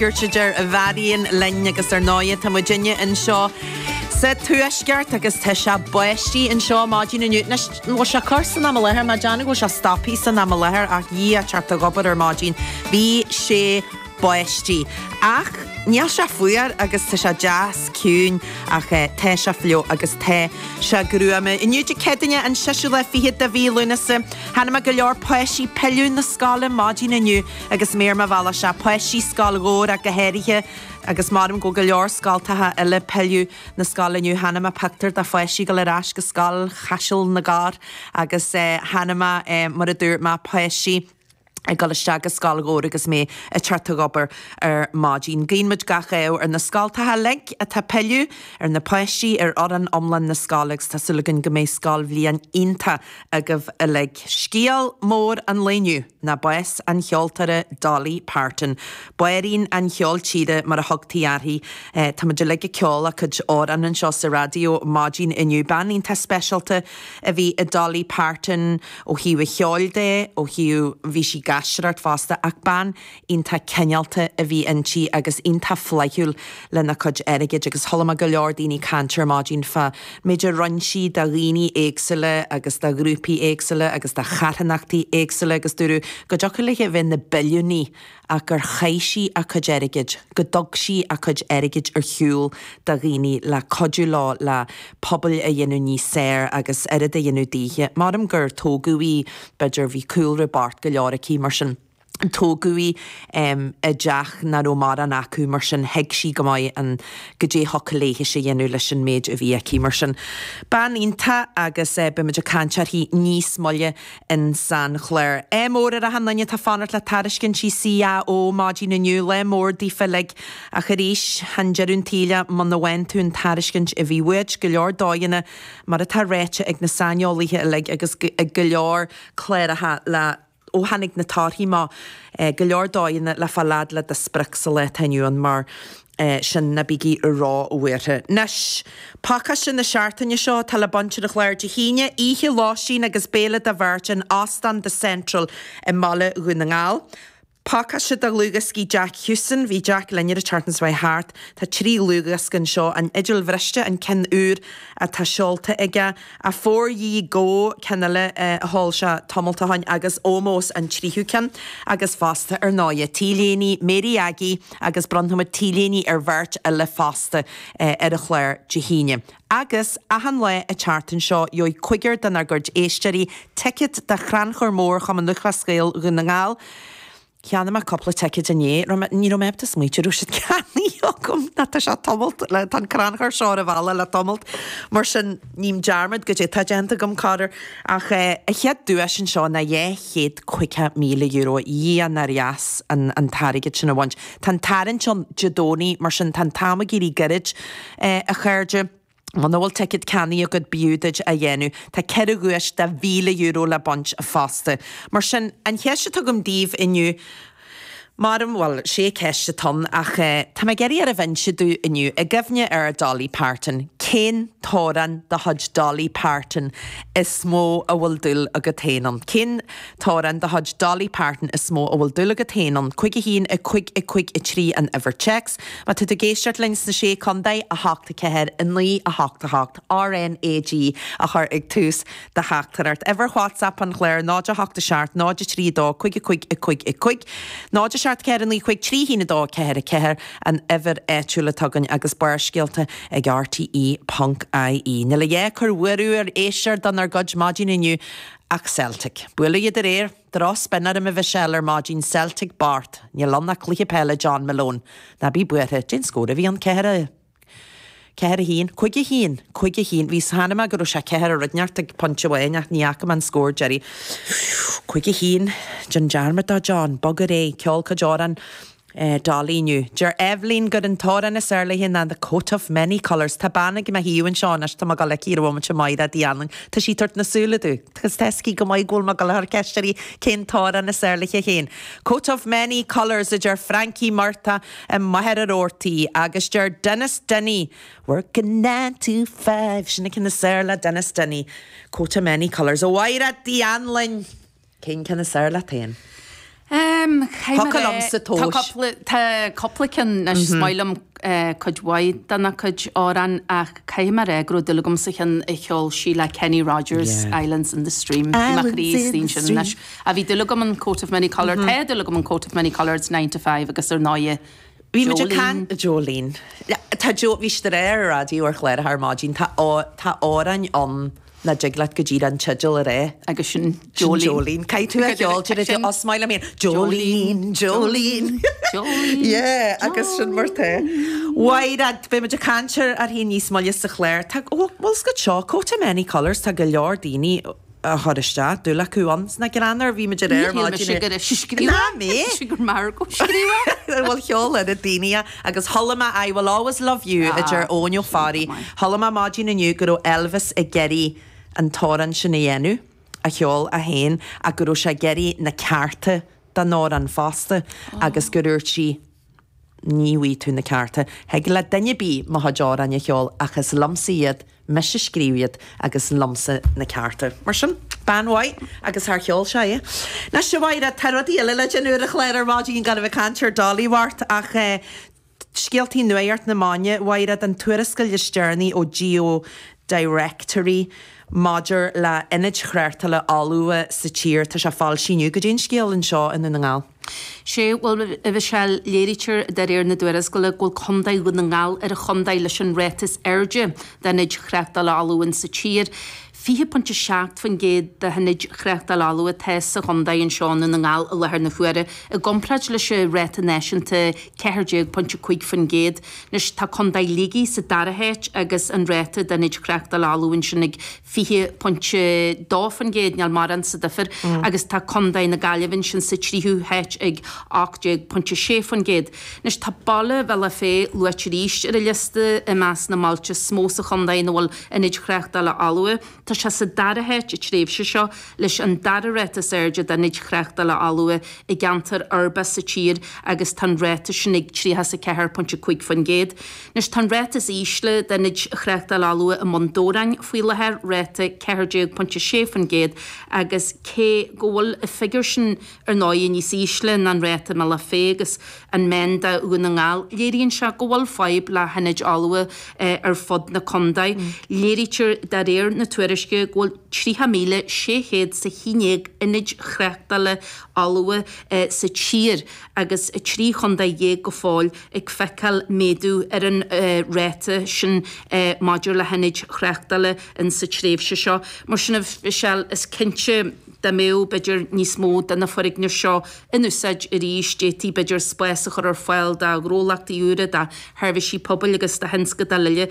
A deir Mharion linn agus ar ndóighe tá muidinne anseo sa Tuaisceart agus tá sé báistí anseo maidin inniu. Anois, an bhfuil sé ag cur san am i láthair? Mé ag déanamh go bhfuil sé stoptha san am i láthair ach Dhia ag teacht ag obair ar maidin bhí sé báistí. Ach níl sé fuar agus tá sé deas ciúin ach tá sé fliuch agus tá sé gruama. Inniu Dé Céadaoine an seisiú lá fichead de mhí Lúnasa. Chonaic mé go leor páistí pilleadh na scoile maidin inniu. Agus mé ar mo bhealach sea, páistí Scoil Dhobhair ach go háirithe, agus maram go bhfuil go leor scoltacha eile pilleadh na scoile inniu. Chonaic mé pictiúr de pháistí ag dul ar ais go Scoil Chaiseal na gCorr agus chonaic mé, mar a dúirt mé, páistí ag dul isteach go Scoil Dhobhair agus mé ag teacht ag obair ar maidin. Guíonn muid gach ádh ar na scoltacha uilig atá pilleadh, ar na páistí, ar fhoireann iomlán na scoile agus tá súil againn go mbeidh scoilbhliain iontach agaibh uilig. Scéal mór an lae inniu ná bás an cheoltóra Dolly Parton. Banríon an cheoil tíre mar a thugtaí uirthi. Tá muid uilig ag ceol a cuid amhrán anseo sa raidió maidin inniu. Bean iontach speisialta a bhí i Dolly Parton ó thaobh a cheoil de, ó thaobh, bhí sí ag aisteoireacht fosta ach bean iontach cineálta a bhí inti agus iontach flaithiúil lena cuid airgid agus chuala mé go leor daoine ag caint ar maidin fá méid a roinn sí do dhaoine éagsúla agus do ghrúpaí éagsúla agus do charthanachtaí éagsúla agus dúradh go dtiocfadh léi a bheith ina billiúnaí ach gur chaith sí a cuid airgid, go dtug sí a cuid airgid ar shiúl do dhaoine le cuidiú leo le pobail a dhéanamh níos fearr agus oiread a dhéanamh daoithe. Maram gur tógadh í, b'fhéidir, bhí cúlra bocht go leor aici mar sin. Tógadh í i dteach nach raibh mórán acu, mar sin thuig sí go maith an goidé thiocfadh léithese a dhéanamh leis an méid a bhí aici. Mar sin, bean iontach agus beidh muid ag caint uirthi níos moille in san chlár. Ádh mór ar achan duine atá fanacht le tairiscintí CAO maidin inniu, lá mór daofa uilig. Ach arís, chan deireadh an tsaoil é muna bhfaigheann tú an tairiscint a bhí uait, go leor dóigheanna, mar atá ráite ag na saineolaithe uilig agus ag go leor cláracha le. Ó tháinig na torthaí amach, go leor dóigheanna le fáil fhad le do sprioc sa lá atá inniu ann mar sin ná bígí ró-bhuartha. Anois, pacáiste na seachtaine seo atá le baint ar an chlár Dé hAoine, oíche lóistín agus béile do bheirt in Óstán The Central i mBaile Dhún na nGall. Pacáiste de dhlúthdhioscaí Jack Huston, bhí Jack linn ar an tseachtain seo chuaigh thart, tá 3 dhlúthdhiosca anseo, An Fhidil Bhriste, an ceann úr atá seolta aige, Afore Ye Go, ceann eile a sheol sé tamalt ó shin, agus Ómós, an tríú ceann. Agus fosta, ar ndóighe, T-léiní Mary Aggie agus bronnfaimid T-léiní ar bheirt eile fosta ar an chlár Dé hAoine. Agus achan lá an tseachtain seo, gheobhaidh cúigear denár gcuid éisteoirí ticéad do Chrannchur Mór Chumann Lúthchleas Gael Dhún na nGall. Cheannaigh mé cúpla ticéad inné. Raibh mé, ní raibh mé ábalta smaoitiú raibh siad ceannaithe agam. Ná tá sé tamalt le, tá an crannchur seo ar an bhealach le tamalt. Mar sin, ním dearmad goidé atá déanta agam, corruair. Ach eh, an chéad duais anseo ná €250,000. Dhia nár dheas an, an t-airgead sin a bhaint. Tá an tarraingt ann Dé Domhnaigh, mar sin tá an t-am ag éirí gairid, eh, a chairde. Muna bhfuil ticéad ceannaithe agat b'fhiú duit a dhéanamh. Tá 4 dhuais de €1,000 le baint fosta. Mar sin, an cheist atá agam daoibh inniu, maram, bhuel, sé ceist atá ann ach tá mé ag iarraidh oraibh inse domh inniu, i gcuimhne ar Dolly Parton, cén t-amhrán de chuid Dolly Parton is mó a bhfuil dúil agat féin ann? Cén t-amhrán de chuid Dolly Parton is mó a bhfuil dúil agat féin ann? 5 1 5 5 3 an uimhir téacs. Má tá tú ag éisteacht linn sna Sé Contae, 8 4 9 8 8 RNAG a chur ag tús do theachtaireacht. Uimhir WhatsApp an chláir 0 8 7 0 3 2 5 5 5 5 0 7 4 9 5 3 1 2 4 4 an uimhir áitiúil atá againn agus Barrscéalta ag RTÉ ponc IE. Níl a dhath ag cur buaireamh ar éisteoir denár gcuid maidin inniu ach Celtic. Buaileadh iad aréir. Droch-spin orm a Mhichelle ar maidin, Celtic bocht, níl ann ach cluiche peile John Malone. Ná bí buartha, cén scór a bhí ann? 4, 4 1, 5 1, 5 1, bhí chonaic mé go raibh sé 4 rud inteacht ag pointe amháin ach ní fhaca mé an scór deiridh. 5 1, déan dearmad de John, bog ar aghaidh, ceol cuid amhrán Dolly inniu. Deir Eibhlín gur an t-amhrán is fearr léi ná The Coat of Many Colours. Tá bean ag mo thaobh anseo anois, tá mé ag dul aici ar an bhomaite Máire Uí Anluain. Tá sí ag tabhairt na súile domh. Agus tá 'fhios aici go maith go bhfuil mé ag dul a chur ceist uirthi cén t-amhrán is fearr léi féin. Coat of Many Colours a deir Frankie Murtagh i Machaire Rabhartaigh agus deir Denis Denny Working 9 to 5 sin an ceann is fearr le Denis Denny. Coat of Many Colours. A Mháire Uí Anluain! Cén ceann is fearr leat féin? Thiocfadh liomsa tomhas. Tá cúpla ceann anois, is maith liom cuid mhaith de na cuid amhrán ach caithfidh mé a rá go raibh dúil agam sa cheann a cheol sí le Kenny Rogers, Islands in the Stream. Bhí mo chroí istigh ansin anois. Ach bhí dúil agam in Coat of Many Colours, tá dúil agam in Coat of Many Colours, Nine to Five agus ar ndóighe Bhí muid ag caint, Jolene. Tá Joe, bhí siad ar an raidió ar chláracha ar maidin, tá tá amhráin ann nach dtig leat go díreach an teideal a rá. Agus sin Jolene. Sin Jolene. Caithfidh tú a cheol, deir tú, oh, is maith liom é. Jolene, Jolene. Jolene. Yeah, agus sin mar tá. Mhaighread, beidh muid ag caint ar uirthi níos moille sa chlár. Tá, ó, bhfuil 's agat seo, Coat of Many Colours, tá go leor daoine a chur isteach, dúil acu ann. Is nach greannmhar, bhí muid ar aer maidin. Níor shíl mise go raibh sí scríofa. Ná mé! Shíl mise gur Margot scríofa. Bhuel, cheol oiread daoine é. Agus chuala mé I Will Always Love You a deir Eoin Ó Fearraigh. Chuala mé maidin inniu go raibh Elvis ag iarraidh an t-amhrán sin a dhéanamh, a cheol é féin, ach go raibh sé ag iarraidh na cearta don amhrán fosta agus gur dhúirt sí, Ní bhfaighidh tú na cearta. Thig le duine ar bith mo chuid amhráin a cheol ach is liomsa iad, mise a scríobh iad agus liomsa na cearta. Mar sin, bean mhaith agus char cheol sé é. Anois, a Mháire, tá rudaí eile le déanamh ar an chlár ar maidin gan a bheith ag caint ar Dolly Mhart ach eh, scéaltaí nuacht na maidine, a Mháire, an tuarascáil is deireanaí ó Geo Directory maidir le ionaid thráchtála fholmha sa tír, tá sé foilsithe inniu. Goidé an scéal anseo i nDún na nGall. Sea, bhuel, a Mhichelle, léirítear de réir na dtuarascála go bhfuil Contae Dhún na nGall ar an chontae leis an ráta is airde d'ionaid thráchtála fholmha insa tír. 20.7% de hionaid thráchtála fholmha atá sa chontae anseo i nDún na nGall i láthair na huaire, i gcomparáid leis an ráta náisiúnta 14.5%. Anois, tá Contae Shligigh sa dara háit agus an ráta d'ionaid thráchtála fholmha ansin ag 20.2%, níl mórán sa difear, agus tá Contae na Gaillimhe ansin sa tríú háit ag 18.6%. Anois tá baile Bhealach Féich luaite arís ar an liosta i measc na mbailte is mó sa chontae ina bhfuil ionaid thráchtála fholmha. Tá sé sa dara háit an tréimhse seo leis an dara ráta is airde d'ionaid thráchtála fholmha i gceantar uirbeach sa tír agus tá an ráta sin ag 34.5%. Anois tá an ráta is ísle d'ionaid thráchtála fholmha i mBun Dobhráin faoi láthair, ráta 14.6%, agus cé go bhfuil an figiúr sin ar ndóigh níos ísle ná an ráta i mBealach Féich agus an meán do Dhún na nGall, léiríonn sé go bhfuil fadhb le hionaid fholmha ar fud na contae. Léirítear de réir na tuairisce go bhfuil 30,600 's a 11 ionaid thráchtála fholmha sa tír agus 13 chontae go fóill ag feiceáil méadú ar an ráta sin maidir le hionaid thráchtála in sa tréimhse seo. Mar sin, a Mhichelle, is cinnte dá mbeadh, b'fhéidir, níos mó de na foirgnimh seo in úsáid arís, d'fhéadfaí, b'fhéidir, spás a chur ar fáil do ghnólachtaí úra, do sheirbhísí pobail agus do thionscadail eile.